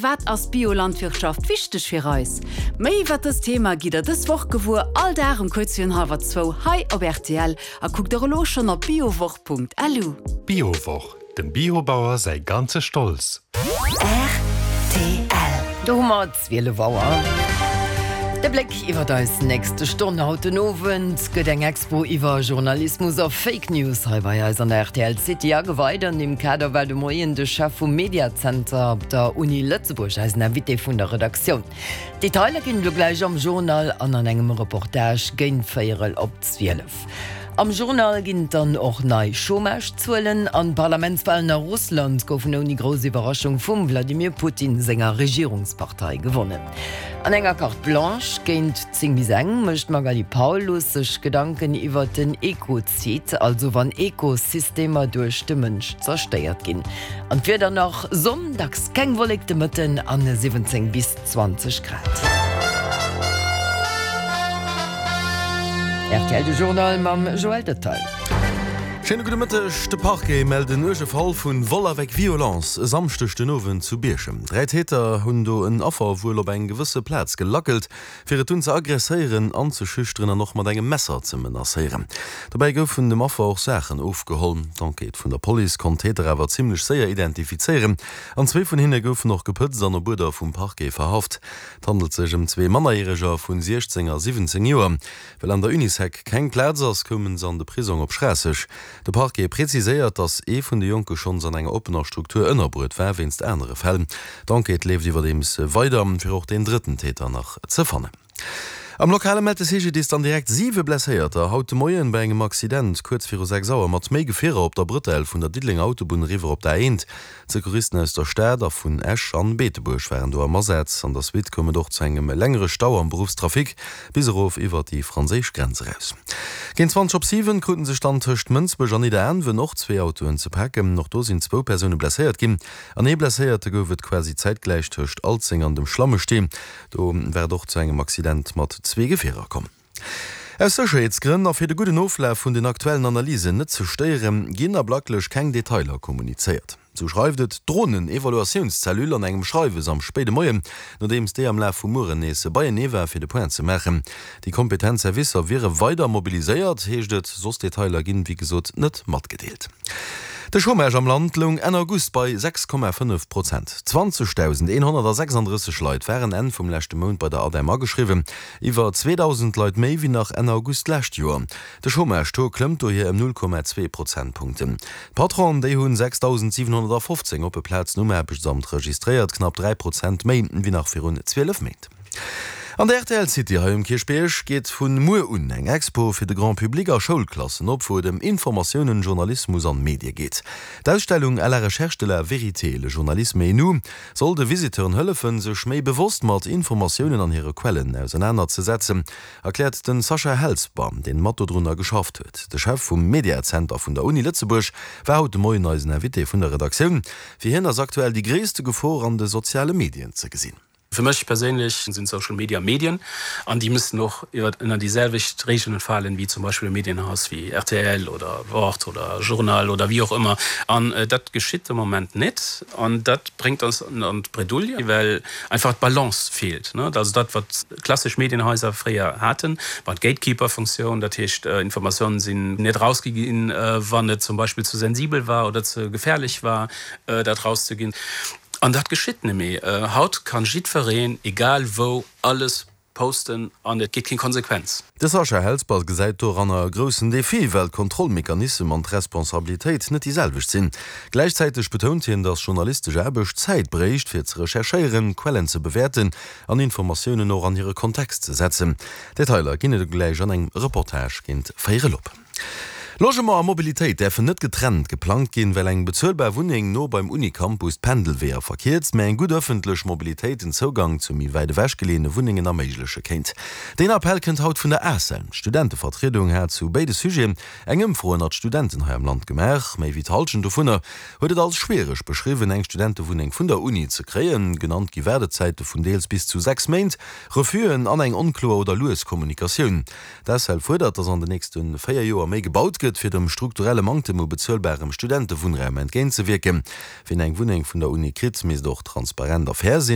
Wat ass Biolandwirtschaft wichteg fir eis? Méi iwwer dëst Thema gitt der dës Woch gewuer, all Dag um kuerz virun hallwer zwou hei op rtl a kuckt och elo schonn op biowoch.lu. D'Biowoch, dem Biobauer säi ganze Stolz. Rtl. Do hu mer 12 Auer. De Bléck iwwer eis nächste Stonn. Haut den Owend gëtt eng Expo iwwer Journalismus a Fake News hei bei eis an der rtl City ageweit. An deem Kader war de Moien de Chef vum Mediazenter op der Uni Lëtzebuerg eisen Invité vun der Redaktioun. Detailer ginn et elo gläich am Journal an an engem Reportage géint véierel op 12. Am Journal ginn et dann och nei Chômage-Zuelen an d'Parlamentswalen a Russland goufen ouni grouss Iwwerraschung vum Wladimir Putin senger Regierungspartei gewonnen. An enger Carte Blanche géint 10 bis eng mécht d'Magali Paulus sech Gedanken iwwert den Ekozid, also wann Ekosystemer duerch de Mënsch zerstéiert ginn. An d'Wieder nach, Sonn, dacks keng Wollek de Mëtten an 17 bis 20 Grad. Rtl De Journal mam Joël Detail. Schéine gudde Mëtteg. De Parquet mellt en uerge Fall vun Vol avec violence e Samschdeg den Owend zu Bierchem. 3 Täter hunn do en Affer wuel op eng gewësse Plaz gelackelt, fir et dunn ze aggresséieren, anzeschüchteren an och mat engem Messer ze menacéieren. Dobäi goufen dem Affer och Saachen ofgeholl. D'Enquête vun der Police konnt d'Täter awer zimmlech séier identifizéieren an zwee vun hinne goufen och gepëtzt an op Uerder vum Parquet verhaft. Et handelt sech ëm zwee Mannerjäreger vun 16 a 17 Joer. Well an der Unisec keng Plaz ass, koumen se an de Prisong op Schraasseg. De Parquet preziséiert, datt ee vun de Jonke schonns an enger oppener Struktur ënnerbruet war wéinst anere Fäll. D'Enquête leeft iwwerdeems weider, fir och deen drëtten Täter nach ze fannen. Am Lokale mellt de CGDIS dann direkt siwe Blesséierter haut de Moien bei engem Accident kuerz viru 6 Auer mat méi Gefierer op der Brëtell vun der Diddelenger Autobunn eriwwer op d'A1. D'Secouristen aus der Stad a vun Esch an Beetebuerg waren do am Asaz. An der Suite koum et och zu engem längere Stau am Beruffstrafic bis erof iwwert déi franséisch Grenz eraus. Géint 20 op 7 kruten sech dann tëscht Mënsbech an Nidderaanwen och zwee Autoen ze paken. Och do sinn zwou Persoune blesséiert ginn an ee Blesséierte gouf et quasi zäitgläich tëscht Alzeng an dem Schlammestee. Do war et och zu engem Accident mat zwee Gefierer komm. Aus Sécherheetsgrënn a fir de gudden Oflaf vun den aktuellen Analysen net ze stéieren, ginn ablacklech keng Detailer kommunizéiert. Sou schreift et d'Dronen-Evaluatiounscellule an engem Schreiwes am spéide Moien, nodeems déi am Laf vum Mueren nees beienee war fir de Point ze maachen. Déi kompetent Servicer wiere weider mobiliséiert, heescht et. Soss Detailer ginn, wéi gesot, net matgedeelt. De Chômage am Land loung Enn August bei 6,5 Prozent. 20.136 Leit waren Enn vum leschte Mount bei der ADEM ageschriwwen. Iwwer 2.000 Leit méi wéi nach Enn August d'lescht Joer. De Chômage-Taux klëmmt dohier ëm 0,2 Prozentpunkten. D'Patronen, déi hunn 6.715 oppe Plazen um Aarbechtsamt registréiert, knapp 3 Prozent méi wéi nach virun 12 Méint. An der rtl City hei um Kierchbierg geet vun muer un eng Expo fir de Grand Public a Schoulklassen op, wou et ëm Informatiounen, Journalismus an Medie geet. D'Ausstellung À la recherche de la vérité, le journalisme et nous Soll de Visiteuren hëllefen, sech méi bewosst mat Informatiounen an hire Quellen ausernaner ze setzen, erkläert den Sascha Helsper, deen mat dodrunner geschafft huet. De Chef vum Mediazenter vun der Uni Lëtzebuerg war haut de Moien eisen Invité vun der Redaktioun. Fir hien ass aktuell déi gréisste Gefor an de soziale Medien ze gesinn. Fir mech perséinlech sinn Social Media Medien an déi müssen och ënner déi selwecht Regeln falen wéi zum Beispill e Medienhaus wéi rtl oder Wort oder Journal oder wéi och ëmmer. An dat geschitt de Moment net. An dat bréngt eis an d'Bredouille, well einfach d'Balance feelt. Also dat, wat klassesch Medienhaiser fréier haten, war d'Gatekeeper-Funktioun. Dat heescht, Informatiounen sinn net erausgi ginn, wann et zum Beispill ze sensibel war oder ze gefährlech war, dat erauszeginn. An dat geschitt net méi. Haut kann jiddwereen, egal wou, alles Posten an et gétt keng Konsequenz. De Sascha Helsper gesäit doranner e groussen Defi, well d'Kontrollmechanissem an d'Responsabilitéit net déi selwecht sinn. Gläichzäiteg betount hien, datt journalistesch Aarbecht Zäit bréicht, fir ze recherchéieren, Quellen ze bewäerten an Informatiounen och an hire Kontext ze setzen. Detailer ginn et gläich an engem Reportage géint véierel op. Logement a Mobilitéit däerfen net getrennt geplangt ginn, well eng bezuelbar Wunneng no beim Unicampus d'Pendelweeër verkierzt, mä eng gutt ëffentlech Mobilitéit den Zougang zu méi wäit ewech geleeëne Wunnengen erméigleche kéint. Deen Appell kënnt haut vun der ACEL. D'Studentevertriedung hat zu béide Sujeten eng Ëmfro ënnert Studenten hei am Land gemaach. Méi wéi d'Hallschent dovunner huet et als schwiereg beschriwwen, eng Studentewunneng vun der Uni ze kréien. Genannt gi Waardezäite vun deels bis zu 6 Méint, Refusen an eng onkloer oder lues Kommunikatioun. D'ACEL fuerdert, datt an den nächste 4 Joer méi gebaut gëtt. gëtt, fir dem strukturelle Manktem u bezuelbarem Studentewunnraum entgéintzewierken. Wien eng Wunneng vun der Uni kritt, misst och transparent a fair sinn.